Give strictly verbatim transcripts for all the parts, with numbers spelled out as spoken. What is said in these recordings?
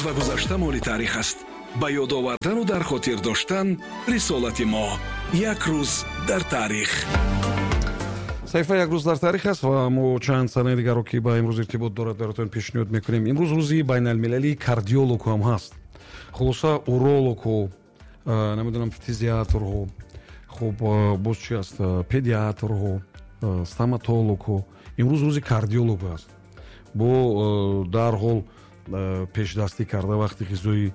Ва гузашта моли таърих аст. Ба ёд овардану дар хотир доштан рисолати мо. Як рӯз дар таърих. Саҳифа «Як рӯз дар таърих» аст ва мо чанд санаи дигарро, ки ба имрӯз иртибот дорад, баротон пешниҳод мекунем. Имрӯз рӯзи байналмилалии кардиологҳо ҳам ҳаст. Хулоса, урологҳо, намедонам, фтизиаторҳо, хуб, боз чи аст, педиатрҳо, стоматологҳо. Имрӯз рӯзи кардиолог аст. Бо дарҳол пешдастӣ карда, вақти ғизои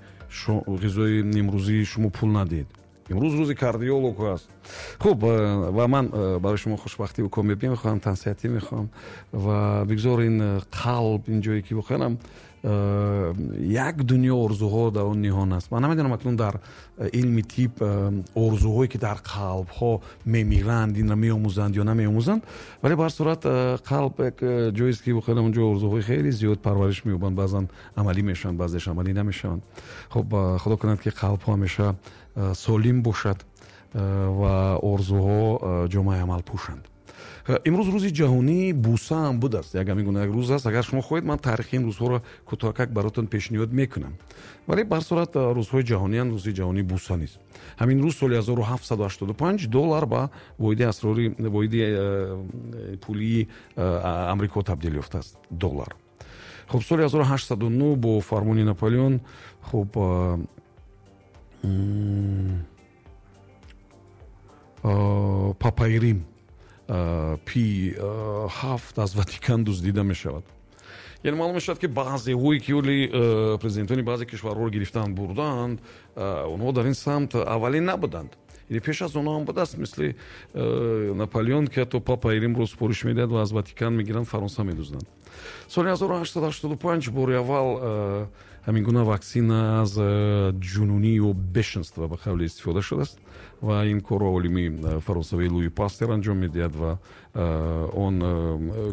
ғизои нимрӯзии шумо пул надиҳед. Имрӯз рӯзи кардиолог аст. Хуб, ва ман барои шумо хушбахтиву комёбӣ мехоҳам, тансиҳатӣ мехоҳам ва бигзор ин қалб, ин ҷое ки воқеанам як дунё орзуҳо дар он ниҳон аст. Ман намедонам, акнун дар илми тиб орзуҳое, ки дар қалбҳо мемиранд, инро меомӯзанд ё намеомӯзанд, вале ба ҳар сурат қалб як ҷоест, ки воқеан онҷо орзуҳои хеле зиёд парвариш меёбанд, баъзан амалӣ мешаванд, баъзеш амалӣ намешаванд. Хуб, Худо кунад, ки қалбҳо ҳамеша солим бошад ва орзуҳо ҷомаи амал пӯшанд. Имрӯз рӯзи ҷаҳонии буса ҳам будааст. Як ҳамин гуна як рӯз аст. Агар шумо хоҳед, ман таърихи ин рӯзҳоро кӯтоҳакак баротон пешниҳод мекунам, вале ба ҳар сурат рӯзҳои ҷаҳонианд, рӯзи ҷаҳонии буса низ. Ҳамин рӯз, соли ҳазору ҳафтсаду ҳаштоду панҷ, доллар ба воҳиди асрори воҳиди э, пулии э, Амрико табдил ёфтааст, доллар. Хуб, соли ҳазору ҳаштсаду нӯҳ бо фармони Наполеон, хуб, э, папаи Рим Пи ҳафт аз Ватикан дуздида мешавад. Яъне маълум мешавад, ки баъзеҳое, ки оли президентони баъзе кишварҳоро гирифтаанд, бурдаанд, онҳо дар ин самт аввалин набуданд, яъне пеш аз онҳо ҳам будааст, мисли Наполеон, ки ҳатто папаи Римро супориш медиҳад ва аз Ватикан мегиранд, Фаронса медузданд. Соли ҳазору ҳаштсаду ҳаштоду панҷ бори аввал ҳамин гуна ваксина аз ҷунунӣ ё бешенство, ба қавле, истифода шудааст ва ин корро олими фаронсавии Луи Пастер анҷом медиҳад ва он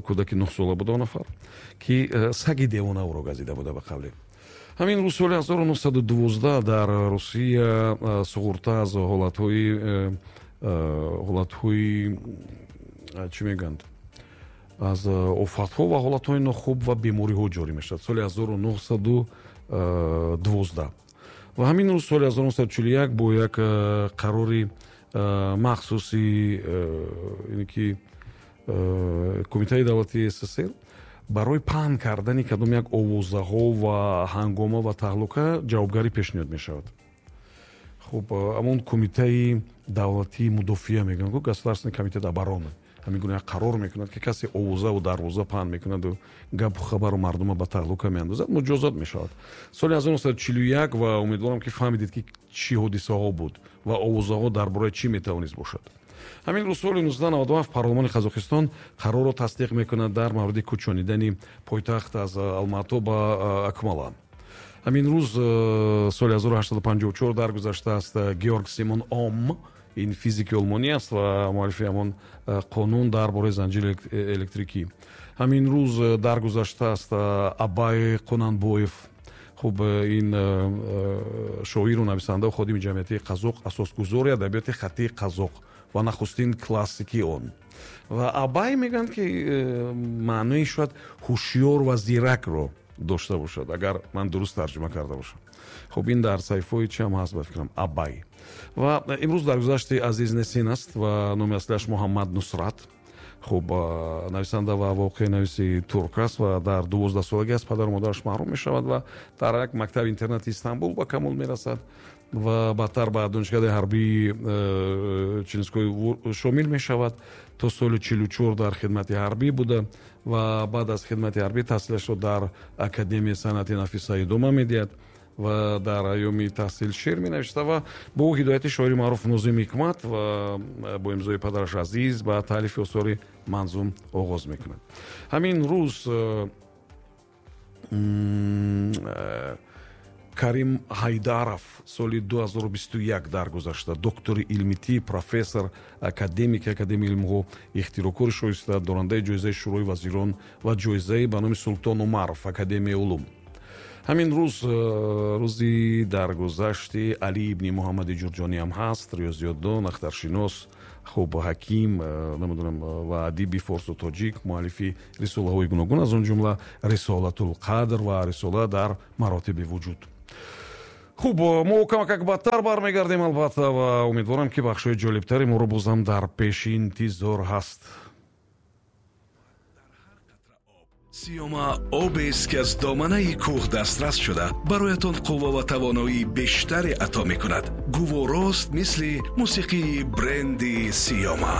кӯдаки нӯҳсола буда, он нафар, ки саги девона ӯро газида буда, ба қавле. Ҳамин рӯз, соли ҳазору нӯҳсаду дувоздаҳ, дар Русия суғурта аз ҳолатҳои ҳолатҳои чӣ мегӯянд, аз офатҳо ва ҳолатҳои нохуб ва бемориҳо ҷорӣ мешавад, соли ҳазору нӯҳсаду дувоздаҳ. Ва ҳамин рӯз, соли ҳазору нӯҳсаду чилу як, бо як қарори махсуси, ине ки Кумитаи давлатии С С С Р барои паҳн кардани кадом як овозаҳо ва ҳангома ва таҳлука ҷавобгарӣ пешниҳод мешавад. Хуб, ҳамон Кумитаи давлатии мудофиа мегӯянд, Государственный комитет обороны, ҳамин гуна як қарор мекунад, ки касе овозаву дарвоза паҳн мекунаду гапу хабару мардума ба таҳлука меандозад, муҷозот мешавад, соли ҳазору нӯҳсаду чилу як. Ва умедворам, ки фаҳмидед, ки чӣ ҳодисаҳо буд ва овозаҳо дар бораи чӣ метавонист бошад. Ҳамин рӯз, соли ҳазору нӯҳсаду наваду ҳафт, парлумони Қазоқистон қарорро тасдиқ мекунад дар мавриди кӯчонидани пойтахт аз Алмато ба Акмола. Ҳамин рӯз, соли ҳазору ҳаштсаду панҷоҳу чор, даргузаштааст Георг Симон Ом. Ин физики олмонӣ аст ва муаллифи ҳамон қонун дар бораи занҷири электрикӣ. Ҳамин рӯз даргузаштааст Абай Қунанбоев. Хуб, ин шоиру нависандаву ходими ҷамъиятии қазоқ, асосгузори адабиёти хаттии қазоқ ва нахустин классики он. Ва Абай мегӯянд, ки маънои шояд ҳушёр ва зиракро дошта бошад, агар ман дуруст тарҷума карда бошам. Хуб, ин дар саҳифаҳои чи ҳам ҳаст, ба фикрам, Абай. Ва имрӯз даргузашти Азиз Несин аст ва номи аслиаш Муҳаммад Нусрат. Хуб, нависанда ва воқеанависи турк аст ва дар дувоздаҳсолагӣ аз падару модараш маҳрум мешавад ва дар як мактаби интернати Истанбул ба камол мерасад ва баъдтар ба донишкадаи ҳарбии э, Челинской шомил мешавад. То соли чилу чор дар хидмати ҳарбӣ буда ва баъд аз хидмати ҳарбӣ таҳсилашро дар Академияи санъати нафиса идома медиҳад ва дар айёми таҳсил шеър менавишта ва бо ҳидояти шоири маъруф Нозим Ҳикмат ва бо имзои падараш Азиз ба таълифи осори манзум оғоз мекунад. Ҳамин рӯз э, э, Карим Ҳайдаров соли ду ҳазору бисту як даргузашта, доктори илми тиб, профессор, академики Академияи илмҳо, ихтироъкори шоиста, дорандаи ҷоизаи Шӯрои вазирон ва ҷоизаи ба номи Султон Умаров Академияи улум. Ҳамин рӯз рӯзи даргузашти Али ибни Муҳаммади Ҷурҷонӣ ҳам ҳаст, риёзиётдон, ахтаршинос, хуб, ҳаким, намедонам, ва адиби форсу тоҷик, муаллифи рисолаҳои гуногун, аз он ҷумла Рисолатулқадр ва рисола дар маротиби вуҷуд. Хуб, мо камакак баъдтар бармегардем албатта ва умедворам, ки бахшҳои ҷолибтари моро бозам дар пеши интизор ҳаст. Сиёма обест, ки аз доманаи кӯҳ дастрас шуда, бароятон қувва ва тавоноии бештаре ато мекунад. Гуворост, мисли мусиқии бренди Сиёма.